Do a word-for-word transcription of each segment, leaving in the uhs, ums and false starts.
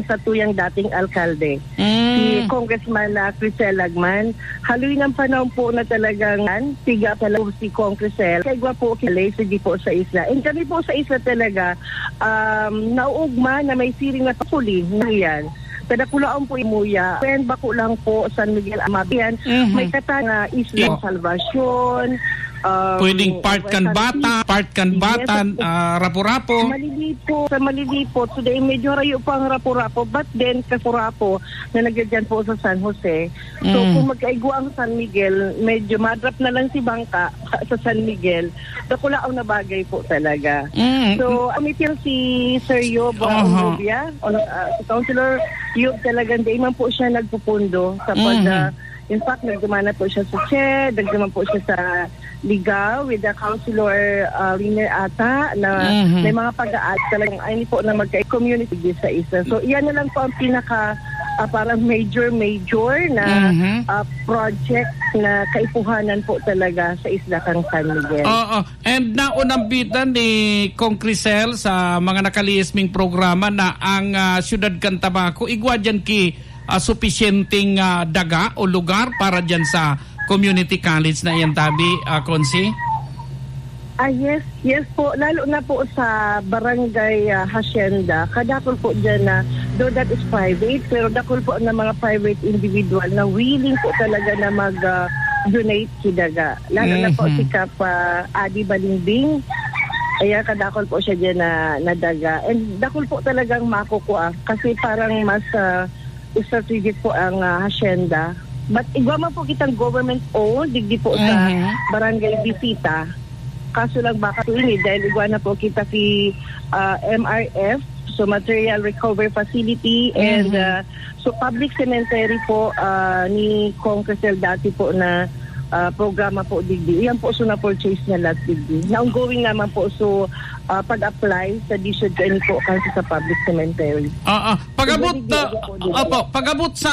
sa tuyang dating alkalde, Mm. si Congressman, ah, Crisel Lagman. Haloy ng panahon po na talagang piga pala si Cong Crisel. Kaigwa po, kilay, sige po sa isla. And kami po sa isla talaga, um, nauugma na may siring na papuli na yan. Sa dakulaon po imuya, when bako lang po, San Miguel Amabian, Mhm. may katan na Isla Oh. Salvacion, um, Pwedeng part kan San bata, Miguel. part kan Yes, bata, po. ah, Rapu-Rapu. Malilipot, sa Malilipot. Today, medyo rayo pa ang Rapu-Rapu, but then, Kasurapo na nagyadyan po sa San Jose. So, Mm. kung magkaigwa ang San Miguel, medyo madrap na lang si Bangka sa San Miguel. Dakulaon na bagay po talaga. Mm. So, ang meeting si Sir Yob, uh, Aha. Onrubia, on-, uh, si Councilor Yob, talagang di man po siya nagpupundo sa pag, Mhm. uh, in fact, nagduman na po siya sa Che, nagduman po siya sa Ligao with the Councilor, uh, Riner ata, na Mhm. may mga pag-aal talagang ay po na magka-community sa isa. So, iyan na lang po ang pinaka, uh, parang major, major na, Mhm. uh, project na kaipuhanan po talaga sa isla kang San Miguel. Oo. And naunambitan ni Cong Crisel sa mga nakalihis ming programa na ang, ah, siyudad kan Tabaco, igwa diyan ki, ah, supisyenteng, ah, daga o lugar para diyan sa community college na iyan tabi, ah, Consi? Ah, yes, yes po. Lalo na po sa barangay, ah, hacienda. Kadakol po dyan na, though that is private, pero dakol po na mga private individual na willing po talaga na mag, ah, donate ki daga. Lalo na po Mhm. si Kap, ah, Adi Balingbing. Ayan, kadakol po siya dyan na, na daga. And dakol po talagang makukuha kasi parang mas, ah, strategic po ang, ah, hacienda. But igwa man po kitang government-owned, digdi po sa Mhm. Barangay Visita. Kaso lang baka po ini, dahil igwa na po kita si, ah, M R F, so Material Recovery Facility, and, Mhm. ah, so public cemetery po, ah, ni Cong Crisel dati po na, ah, programa po digdi. Iyan po, so na-purchase niya lahat digdi. Na ongoing naman po, so, ah, pag-apply sa D S U D kaini po kasi sa public cemetery. Ah, ah. Pag-abot, Pwede ah, di ako din. opo, pag-abot sa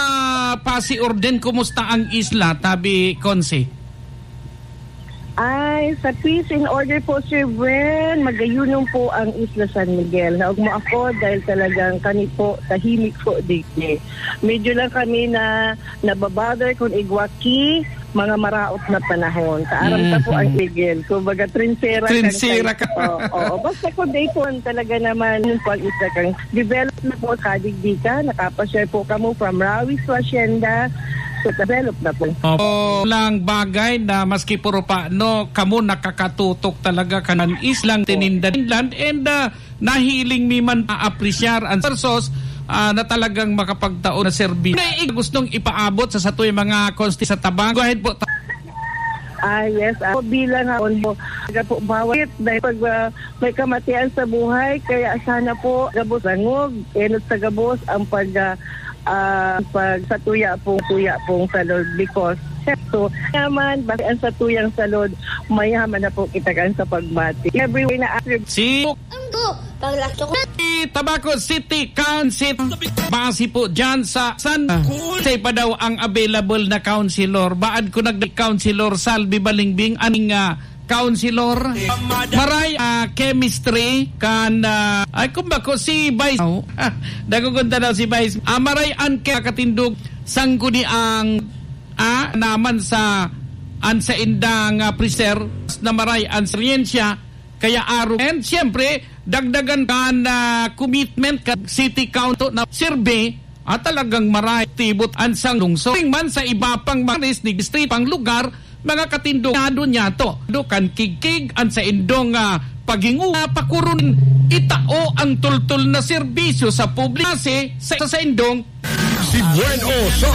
Pasi Orden, kumusta ang isla, tabi, Consi? Ay, sa peace and order po, Sir Bren, magayunom po ang Isla San Miguel. Naugma ako dahil talagang kami po, tahimik po digdi. Medyo lang kami na nababother kung igwa ki mga maraot na panahon. Kaaram ta po ang Mhm. igil. Kumbaga, trinsera kan Trinsera kay-, ka. Oo, oo. Basta kung day po, talaga naman, yung pag-isa kang develop na po, kadigdi ka, nakapashare po kamo from Rawi to Hacienda. So, develop na po. Opo, lang bagay na maski puro pa, no, kamo nakakatutok talaga kanan islang tininda inland and, ah, nahiling mi man maapresyar ang services, ah, na talagang makapagtao na serbisyo. May gustong ipaabot sa satoy mga konsti sa Tabaco? Go ahead po. Ah, yes. Ako bilang ako, taga po, bawat dahil pag, ah, may kamatian sa buhay, kaya sana po gabos langog, enot sa gabos ang pag, ah, ah, pag sa tuya pong, tuya pong salod because so naman, basta ang sa tuyang salod, mayaman na po kita kan sa pagmati. Everywhere na after Si Ang go, paglasto ko. Tabaco City Council. Base po dyan sa San Jose pa daw ang available na councilor. Baad ko nag-councilor Salvi Balingbing, aning, ah, councilor. Maray, ah, chemistry kan, ah, ay, kung bako si Vice. Oh, nagugunta daw si Vice. Ah, maray an ke-, katindog sangguni ang, ah, naman sa an saindang, ah, preser na maray an siyensya. Kaya aro. And siyempre, dagdagan kan, ah, commitment kan City Council na sirbe at talagang maray tibot an sang lungsod. Man sa iba pang mga distrito pang lugar, mga katindog, nado niya to. Do kan kigkig an saindong, ah, paghinguha, pakuron itao ang tultol na serbisyo sa publiko sa, sa saindong Si Buen O sa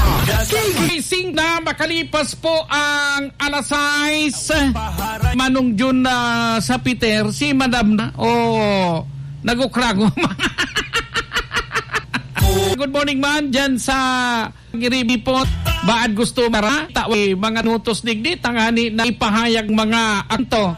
Gising na makalipas po ang alas sais. Manong Jun, ah, sa Peter, si Madam na. Oh, nagukrango. Good morning man dyan sa Giribipot. Baad gusto mara, tawi mga nutos digdi, tangani na ipahayag mga anto.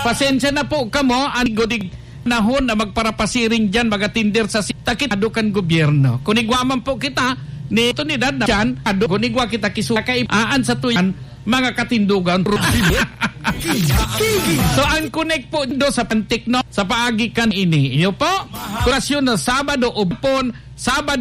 Pasensya na po kamo, anigo dig nahon na magparapasiring diyan, magatinder sa si-, takit ado kan gobyerno. Kung igwa man po kita, ni otoridad na diyan, ado, kung igwa kita kisu-, kay aan sa tuyan, mga katindugan. So, ang connect po do sa pantik, no? Sa paagi kan ini. Iyo po, kurasyon na Sabado o Hapon, Sabado,